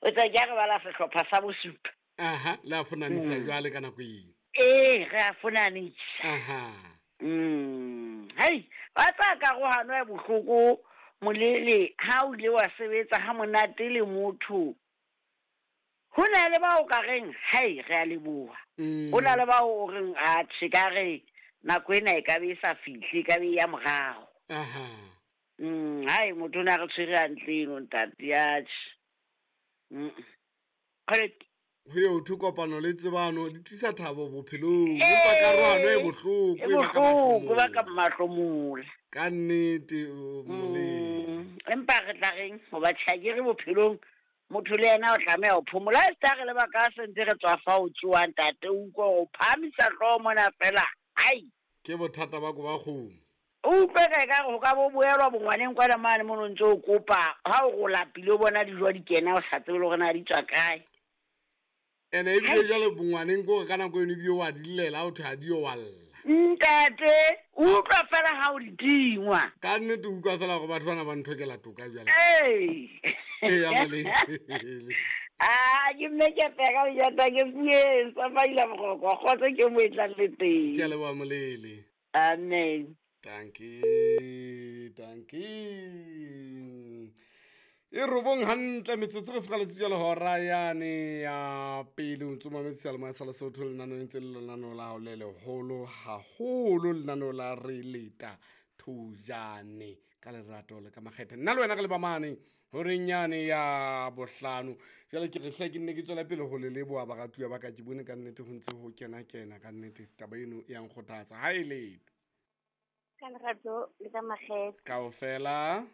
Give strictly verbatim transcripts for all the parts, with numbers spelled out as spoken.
O tsa ke a re bala sehlopha sa bosupa. Aha, le a fonanisa jwale ka nako eo. Ee, re a fonanisa. Aha. Mm. Hei, wa tsaya karohano e bohloko molele ha o ile wa sebetsa ha monate le motho. Ho na le bao ka reng, hei, re a leboha. Mm. Ho na le bao o reng, atjhe, ka re nako ena e ka be e sa fihle, e ka be e ya morao. Aha. Mm, hai, motho o ne a re tshwere hantle eno ntate, atjhe. Mm. Correct. Ho eo thwe kopano le tsebano di tlisa thabo bophelong. Empa karohano e bohloko, E e baka bohloko, e baka mahlomola. mahlomola. Ka nnete, o molemo. Mm, empa re tla reng hoba tjhe, ke re bophelong motho le yena o tlameha ho phomola. Ha e se re le baka se ntse re tswa fa o tsoha ntate, o utlwe hore o phahamisa hlooho mona fela. Ai. Ke bothata ba ko ba kgomo. O utlwe ka ekare ho ka bo boelwa bongwaneng kwana mane mono ntse o kopa. Ha o re o lapile o bona dijo di kena o sa tsebe le hore na di tswa kae. Ene ebile jwale bongwaneng ke hore ka nako eno ebile wa di llela, ha o thwe ha di yo wa lla. Ntate, o utlwa fela ha o di tingwa. Ka nnete o utlwa fela hore batho bana ba nthokela toka jwale. Ee. Ee, ya molele. Ah, ke mme ke peka o jata ke pueng, sa maila boroko, kgotso ke mo e tlang le teng. Ke a leboha molele. Amen. Dankie, dankie. E robong hantle metsotso re fokgaletse jwale hora yane ya pele o ntso mametse seyalemoya sa Lesotho lenaneo ntse le lenaneo la hao le leholo haholo lenaneo la re leta thojane ka lerato le ka makgethe. Nna le wena re le ba mane horeng yane ya bohlano. Jwale ke re hle ke nne ke tswela pele ho le leboha baratuwa ba ka, ke bone ka nnete ho ntse ho kena kena ka nnete taba eno e ya nkgothatsa. Ha e letho. Ka lerato le ka makgethe. Kaofela.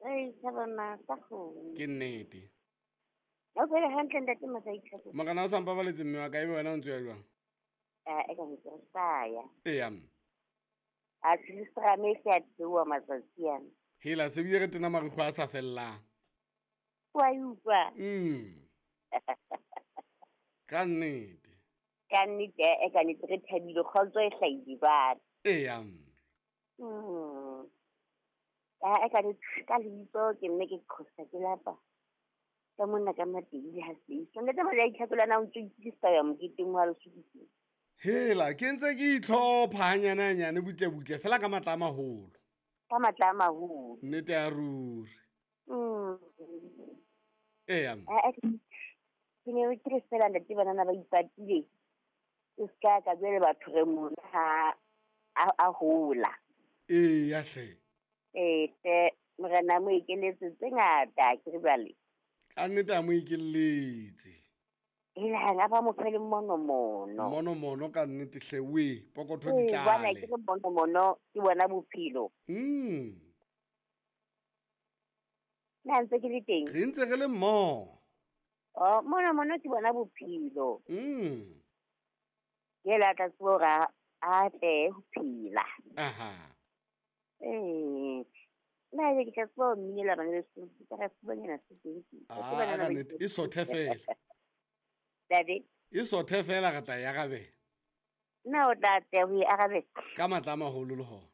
Ei, tshaba masa kgomo. Ke nnete. Ha o phele hantle ntate Masai-Tlhako? Morena o sa mpabaletse mme wa ka, ebe wena o ntse o ya jwang? Ah, e ka ntse re sa ya. Eya, mme. A tlistrame e se a theoha matsatsi ana. Hela, se bile re tena marikgwe a sa fellang. Wa e utlwa? Mm. Ka nnete. Ka nnete, e ka nnete re thabile, kgotso e hlahile jwale. Eya, mme. Mm. Ah, e ka nnete, ka lebitso ke mme ke qhosa ke lapa. Ka monna ka Matebele ha se. Ntate Masai-Tlhako le wena o ntso itokisa ho ya moketeng wa Lesotho. Hela, ke ntse ke itlhopha hanyane hanyane butle butle fela ka matla a maholo. Ka matla a maholo. Nnete ya ruri. Mm. Eya. Ah, ah, ke ne ke re fela ntate banana ba ipatile. E ska ka jwale batho re mona ha a, a hola. Eya hle. Eh, hle, morena mo ekeletse tse ngata ke re jwale. Ka nnete a mo ekeletse. Hela, a ba mo fe le monomono. Monomono ka nnete hle we, pokotho di Ee, bana, tlale. ke re monomono ke bona bophelo. Mm. Na ntse ke le teng? Re ntse re le mmoho. Oh, monomono ke bona bophelo. Mm. Ke la tla tseba hore a, a tle ho phela. Aha. Ee. Nna ke tla tseba ho mminela bana beso, ke tla re fumanyana se teng ke. Ah, Ke bana ka ba nnete, e sothe fela. Ntate? E sothe fela re tla e arabela. Nna o tla tla ho e arabela. Ka matla a maholo le hona.